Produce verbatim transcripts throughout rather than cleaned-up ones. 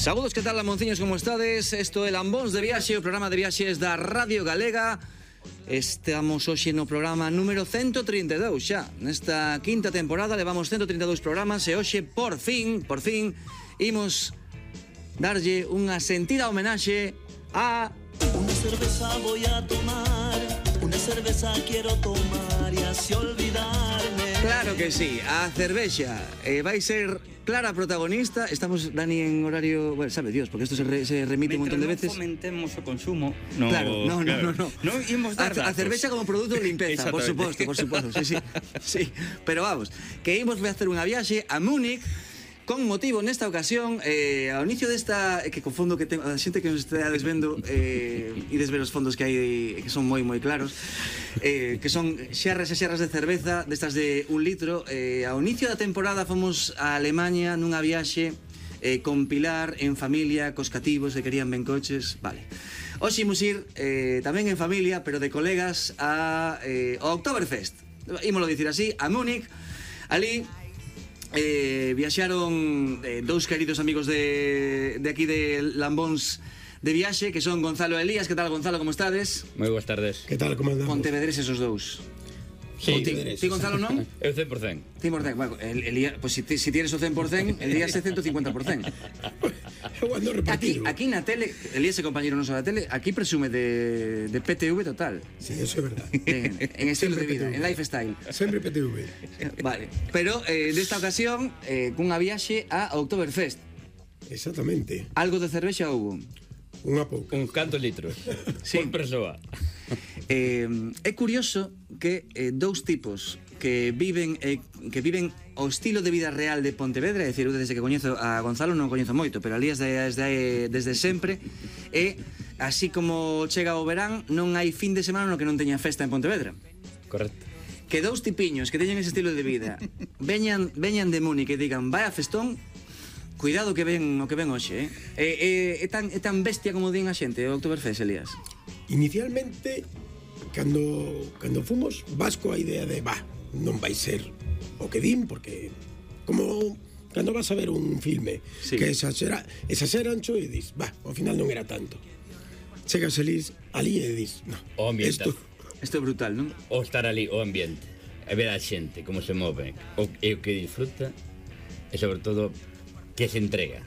Saúdos, que tal, lamonciños, como estades? Isto é Lambóns de Viaxe, o programa de viaxes da Radio Galega. Estamos hoxe no programa número ciento trinta e dous xa. Nesta quinta temporada levamos ciento trinta e dous programas e hoxe, por fin, por fin, imos darlle unha sentida homenaxe a... Una cerveza voy a tomar, una cerveza quiero tomar y así olvidarme. Claro que sí, a cervexa eh, vai ser clara protagonista. Estamos, Dani, en horario... Bueno, sabe Dios, porque isto se, re, se remite un montón de veces. Mientras non fomentemos o consumo, no, claro, no, claro. no, no, no. Non imos dar a, a datos. cervexa como produto de limpeza, por suposto, por suposto, sí, sí, sí. Pero vamos, que imos facer unha viaxe a Múnich con motivo nesta ocasión eh, ao inicio desta, eh, que confundo que ten, a xente que nos está desvendo eh, e desver os fondos que hai que son moi moi claros, eh, que son xerras e xerras de cerveza destas de un litro. Eh, ao inicio da temporada fomos a Alemanha nunha viaxe eh, con Pilar, en familia, cos cativos que querían ben coches, vale. Hoxe imos ir eh, tamén en familia, pero de colegas a, eh, ao Oktoberfest, ímolo dicir así, a Múnich. Ali Eh, viaxaron eh, dous queridos amigos de, de aquí de Lambóns de Viaxe, que son Gonzalo e Elías. Que tal, Gonzalo, como estades? Moi boas tardes. Que tal, como andamos? Pontevedreses os dous. Sí. Ti, ti, Gonzalo, non? Eu cen por cen. cen por cen. Bueno, el, Elías, pues si, si tienes o cen por cen, Elías é ciento cincuenta por cen. Eu ando Aquí, repetido. aquí na tele, Elías é compañero noso da tele, aquí presume de, de P T V total. Sí, eso é verdad. En, en estilo de vida, en lifestyle. Sempre P T V. Vale, pero eh, desta ocasión eh, cunha viaxe a Oktoberfest. Exactamente. Algo de cervexa houbo? Unha pouca. Un canto litros. Sí. Por persoa. Eh, é curioso que eh, dous tipos que viven eh, que viven o estilo de vida real de Pontevedra, é dicir, eu desde que coñezo a Gonzalo non coñezo moito, pero Elías desde, desde sempre, e así como chega o verán, non hai fin de semana no que non teña festa en Pontevedra. Correcto. Que dous tipiños que teñen ese estilo de vida veñan, veñan de Múnich e digan vai a festón, cuidado que ven o que ven hoxe, eh? É, é, é, tan, é tan bestia como din a xente o Oktoberfest, Elías. Inicialmente, cando, cando fomos, vas coa idea de, va, non vai ser o que din, porque como cando vas a ver un filme, sí, que exagera, exageran cho e dis, va, ao final non era tanto. Chegas elís, ali e dis, no, O ambiente. isto, Isto é brutal, non? O estar ali, o ambiente, e ver a xente como se move, o, e o que disfruta, e sobre todo que se entrega.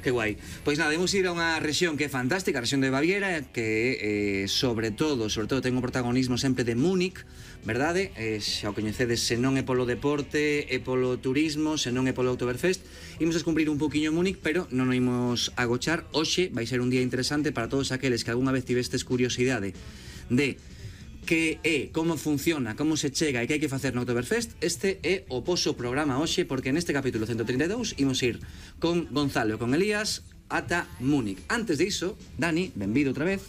Que guai. Pois nada, imos ir a unha rexión que é fantástica, a rexión de Baviera, que eh, sobre todo, sobre todo ten un protagonismo sempre de Múnich, verdade? Eh, xa o coñecedes, se non é polo deporte, é polo turismo, se non é polo Oktoberfest. Imos descubrir un poquinho Múnich, pero non o imos agochar. Hoxe vai ser un día interesante para todos aqueles que algunha vez tivestes curiosidade de que é, como funciona, como se chega e que hai que facer no Oktoberfest. Este é o poso programa hoxe, porque neste capítulo ciento trinta e dous imos ir con Gonzalo e con Elías ata Múnich. Antes de iso, Dani, benvido outra vez.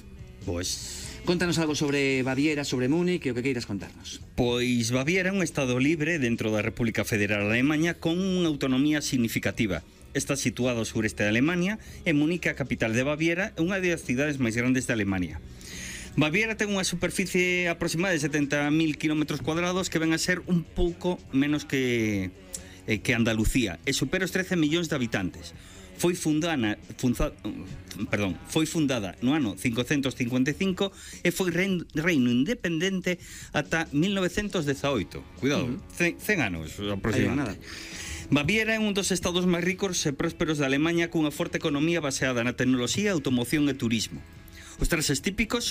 Pois Contanos algo sobre Baviera, sobre Múnich e o que queiras contarnos. Pois Baviera é un estado libre dentro da República Federal Alemania con unha autonomía significativa. Está situado ao sureste de Alemania e Múnich, a capital de Baviera, é unha das cidades máis grandes de Alemania. Baviera ten unha superficie aproximada de setenta mil kilómetros cuadrados, que ven a ser un pouco menos que, eh, que Andalucía, e supera os trece millóns de habitantes. Foi fundada, funza, perdón, foi fundada no ano cincocentos cincuenta e cinco e foi reino, reino independente ata mil novecentos dezaoito. Cuidado, uh-huh. cen anos aproximadamente. Baviera é un dos estados máis ricos e prósperos de Alemanha, cunha forte economía baseada na tecnoloxía, automoción e turismo. Os traxes típicos